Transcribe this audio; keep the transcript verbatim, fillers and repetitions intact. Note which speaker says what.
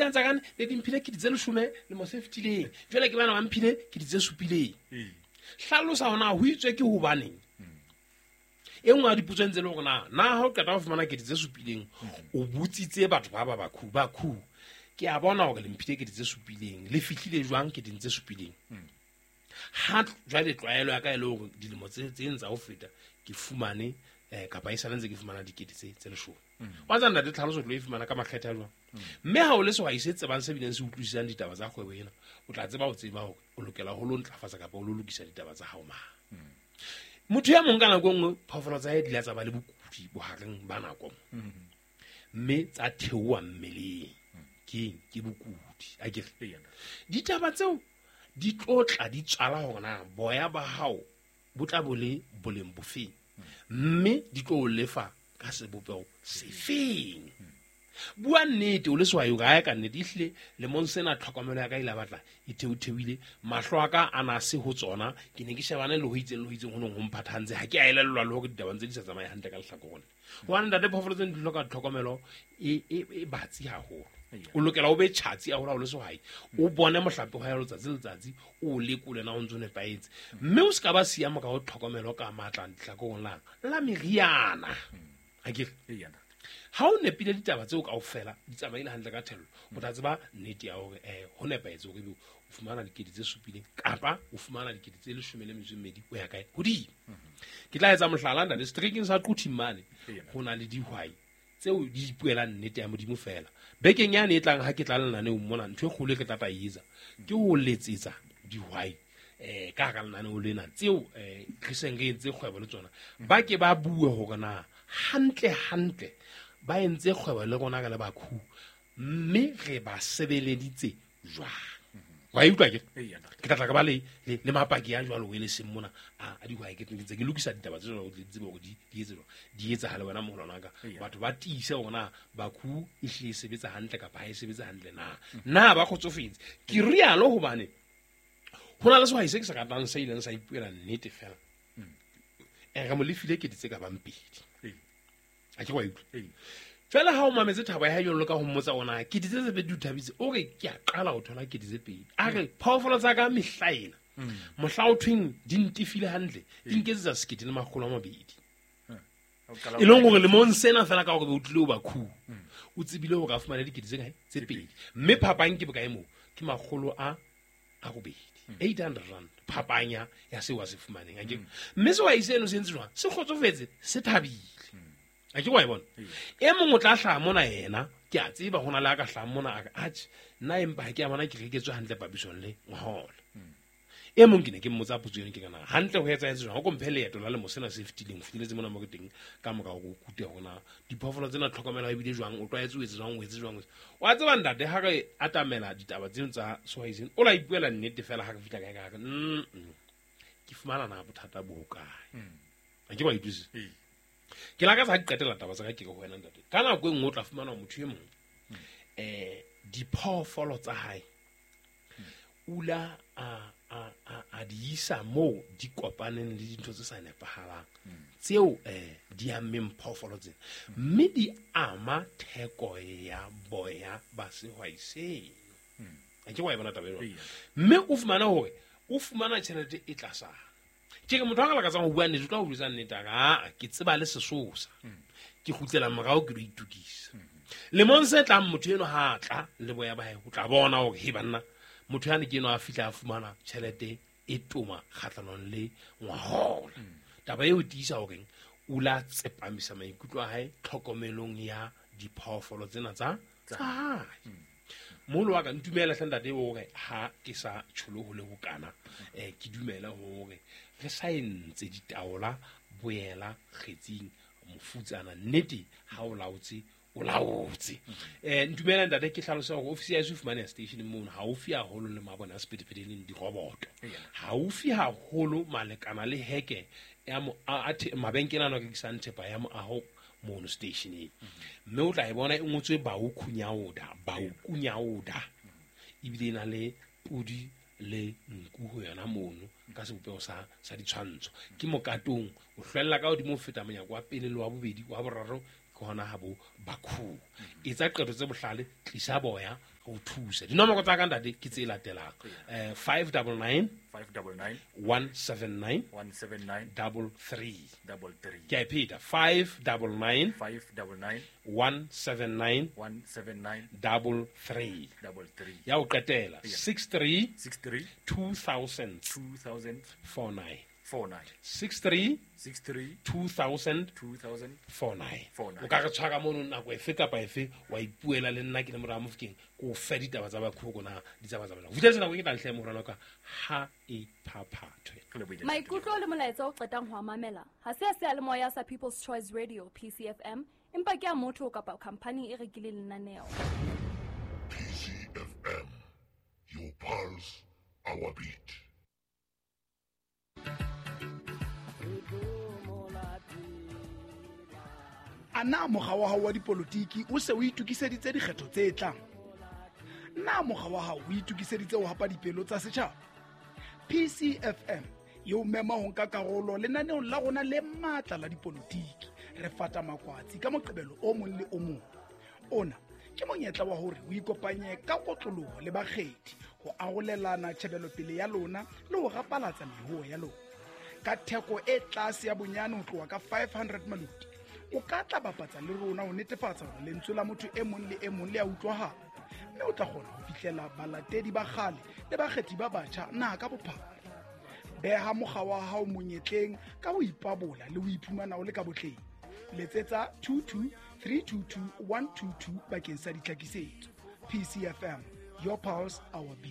Speaker 1: tsena tsa kane ne di mphile kete tse leshome lemo se fetileng jwale ke bana ba mphile kete tse supileng. Hlalosa hona ho itswe ke hobaneng. E nngwe ya dipotso ntse le hore na na ha o qeta ho fumana kete tse supileng o botsitse batho ba ba bakhu bakhu ke a bona hore le mphile kete tse supileng le fihlile jwang keteng tse supileng. Ha jwale tlwaelo ya ka e le hore dilemo tse tse ntsa ho feta ke fumane eh kapa e sale ntse ke fumana dikete tse tse leshome. Wa tsana ntate tlhaloso tlo e fumana ka makgethe a jwang. Mme ha o le sehwai se tsebang se bileng se utlwisisang ditaba tsa kgwebo ena, o tla tseba ho tseba hore o lokela ho lo ntlafatsa kapa o lo lokisa ditaba tsa hao mang. Motho ya mong ka nako e nngwe phoofolo tsa hae di la tsa ba le bokudi bohareng ba nako mme tsa theoha mmeleng. Keng ke bokudi akere. Ditaba tseo di tlo tla di tswala hore na boya ba hao bo tla bo le boleng bofeng mme di tlo o lefa ka sebopeho sefeng. Bua nnete o le sehwai o ka ka nnete ehlile lemong sena tlhokomelo ya ka ile batla e theotheoile mahlo a ka a na se ho tsona ke ne ke shebane le ho itseng le ho itseng ho nong ho mphathantse ha ke a elellwa le hore ditaba ntse di sa tsamaye hantle ka lehlakoreng. Hobane ntate phoofolo tsena di hloka tlhokomelo e e e batsi haholo. O lokela o be tjhatsi haholo ha o le sehwai o bone mohlape wa hao letsatsi le letsatsi o lekole na o ntso nepahetse mme o se ka ba siama ka ho tlhokomelo ka matla lehlakoreng la la meriana. Akere ha o nepile ditaba tseo kaofela di tsamaile hantle ka thello o tla tseba nnete ya hore eh ho nepahetse hore ebe o fumana dikete tse supileng kapa o fumana dikete tse leshome le metso e mmedi o ya kae hodimo. Ke tla etsa mohlala ntate seterekeng sa Quthing mane ho na le dihwai tseo di ipuelang nnete ya Modimo fela. Bekeng yane e tlang ha ke tla lenaneong mona ntho e kgolo e ke tla tla e etsa ke ho letsetsa dihwai eh ka hara lenaneo lena tseo eh re seng re entse kgwebo le tsona ba ke ba bue hore na hantle hantle ba entse kgwebo le rona ka le bakhu mme re ba sebeleditse jwang. Wa utlwa ke ke tla tla ka ba le le mapaki a jwalo o le seng mona a a dihwai ke ntse ke lokisa ditaba tse jwalo di tsebe hore di di etse jwang di etsahale wena moholwana ka batho ba tiise hore na bakhu e hle e sebetsa hantle kapa ha e sebetse hantle na na ba kgotsofetse. Ke rialo hobane ho na le sehwai se ke se ratang se ileng sa ipuela nnete fela e re mo lefile kete tse ka bang pedi. A ke wa utlwa jwale ha o mametse thabo ya hae jwalo ka ho mmotsa ona kete tse tse pedi o thabitse o re ke a qala ho thola kete tse pedi a re phoofolo tsa ka mehla ena mohla o thweng di ntifile hantle di nketsetsa sekete le makgolo a mabedi e leng hore lemong sena fela ka hore be o tlile o bakhu o tsebile hore a fumane dikete tse kae tse pedi mme phapang ke bokae moo ke makgolo a a robedi eight hundred rand phapanya ya seo a se fumaneng akere. Mme sehwai seno se entse jwang se kgotsofetse se thabile. A ke wa e bona e mong o tla hlaha mona yena ke a tseba ho na le a ka hlaha mona a re atjhe nna empa ha ke a bona ke reketswe hantle papisong le ngwahola. E mong ke ne ke mmotsa potso eno ke kana hantle ho etsahetse jwang o ko mphe leeto la lemo sena se fetileng o fihleletse mona mo ke teng ka mora hore o kute hore na diphoofolo tsena tlhokomelo e bile jwang o tlwaetse o etse jwang o etse jwang. Wa tseba ntate ha re atamela ditaba tseno tsa sehwai seno o la ipuela nnete fela ha re fihla kae ka re ke fumana na bothata bo hokae. A ke wa utlwisisa. Ke lakatsa ha ke qetela taba tsa ka ke re ho wena ntate ka nako e nngwe o tla fumana motho e mong eh diphoofolo tsa hae ula a a a a di isa moo di kopaneng le dintho tse sa nepahalang tseo eh di ammeng phoofolo tsena mme di ama theko ya boya ba sehwai seno. A ke wa e bona taba eo mme o fumana hore o fumana tjhelete e tlasana. Ke re motho a ka lakatsang ho bua nnete o tla ho jwetsa nnete a re aa ke tseba le sesosa ke kgutlela morao ke lo itokisa. Lemong se tlang motho eno ha tla le boya ba hae o tla bona hore he banna motho yane ke eno a fihla a fumana tjhelete e toma kgahlanong le ngwahola. Taba eo e tiisa horeng o la tsepamisa maikutlo a hae tlhokomelong ya diphoofolo tsena tsa tsa hae. Moholo wa ka ntumela hle ntate hore ha ke sa tsholo ho le bokana eh ke dumela hore re sa entse ditaola boela kgetsing mofutsana nnete ha o laotse o laotse. Eh ntumela ntate ke hlalosa hore ofisi ya heso e fumaneha station mono haufi haholo le mabone a sephethephethe leng diroboto haufi haholo malekana le heke ya mo a mabenkele ana a rekisang thepa ya moaho mono stationeng mme o tla e bona e ngotswe Baukunyaoda Baukunyaoda ebile e na le podi le nku ho yona mono ka sebopeho sa sa ditshwantsho ke mokatong o hlwella ka hodimo ho feta monyako wa pele le wa bobedi wa boraro ke hona ha bo bakhu. Etsa qeto tse bohlale tlisa boya Re o thuse. Dinomoro tsa ka ntate ke tse latelang. Eh five double nine
Speaker 2: five double nine
Speaker 1: one seven nine
Speaker 2: one seven nine
Speaker 1: double three.
Speaker 2: double three.
Speaker 1: Ke a e pheta. five double nine
Speaker 2: five double nine
Speaker 1: one seven nine
Speaker 2: one seven nine
Speaker 1: double three.
Speaker 2: double three.
Speaker 1: Ya ho qetela six three
Speaker 2: six three
Speaker 1: two thousand
Speaker 2: two thousand
Speaker 1: four nine.
Speaker 2: four nine.
Speaker 1: six three
Speaker 2: six three
Speaker 1: two thousand
Speaker 2: two thousand
Speaker 1: four nine.
Speaker 2: Four nine.
Speaker 1: O ka re tshwara mono nako efe kapa efe wa ipuela le nna ke le mora Mofokeng ko fe ditaba tsa Bakhoko na di tsa tsa bana. Ho fihletse nako e ke tla ntlha morana ka ha e phaphathwe.
Speaker 2: Re lebohile.
Speaker 3: Maikutlo le molaetsa o qetang ho a mamela ha se a seyalemoya sa People's Choice Radio P C F M, empa ke a motho kapa khamphani e rekileng lenaneo.
Speaker 4: P C F M, your pulse, our beat.
Speaker 5: A na mokga wa hao wa dipolotiki o se o itokiseditse dikgetho tse tlang? Na mokga wa hao o itokiseditse ho hapa dipelo tsa setjhaba? P C F M e o mema ho nka karolo lenaneong la rona le matla la dipolotiki. Re fata makwatsi ka Moqebelo o mong le o mong. Ona ke monyetla wa hore o ikopanye ka kotloloho le bakgethi ho arolelana tjhebelopele ya lona le ho rapalatsa mehoo ya lona. Ka theko e tlase ya bonyane ho tloha ka five hundred maluti, o ka tla bapatsa le rona ho netefatsa hore lentswe la motho e mong le e mong le a utlwahala, mme o tla kgona ho fihlela balatedi ba kgale le bakgethi ba batjha naha ka bophara. Beha mokga wa hao monyetleng ka ho ipabola le ho iphumana o le ka botleng. Letsetsa two two three two two one two two bakeng sa ditlhakisetso. P C F M, your pulse, our beat.